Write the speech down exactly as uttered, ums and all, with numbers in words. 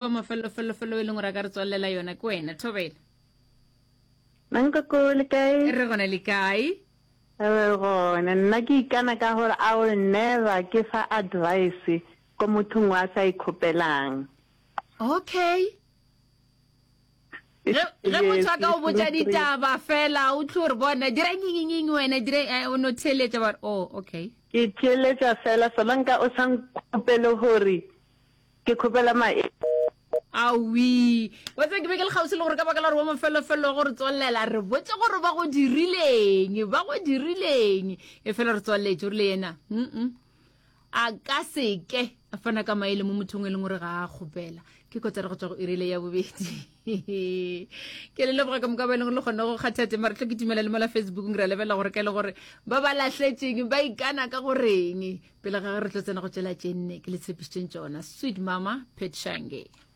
Wa mafelofelofelo e leng gore a ka re tswalela yona ke wena Thobela. Mankoko le kae? Re gona le kae? Re gona. Nna ke ikana ka gore I will never ke fa advice ko mothong wa sa ikgopelang. Okay. Ge ge motho a ka o botša ditaba fela o tlo re bona dira nyinyinying wena dira eh, o no theeletša ba re oh okay. Ke theeletša fela solanka o sa nkgopele gore Ke kgopela mae. Aowi. Wa tseba ke be ke le kgauswi le gore ka baka la gore wa mafelofello wa go re tswalela, re botše gore ba go dirileng, ba go dirileng. Efela re tswalletše, o rile yena, mm a ka se ke a fana ka maele mo mothong e leng gore ga a kgopela. Ke kotara go tšwa go irile ya bobedi. Ke le leboga ka moka ba e leng gore le kgonne go kgatha tema. Re tlo kitimela le mola Facebookong ra lebelela gore ka e le gore ba ba lahletšeng ba ikana ka goreng. Pele ga ge re tlo tsena go tšela tše nne ke le tshepišitšeng tšona. Sweet Mama Pet Shange.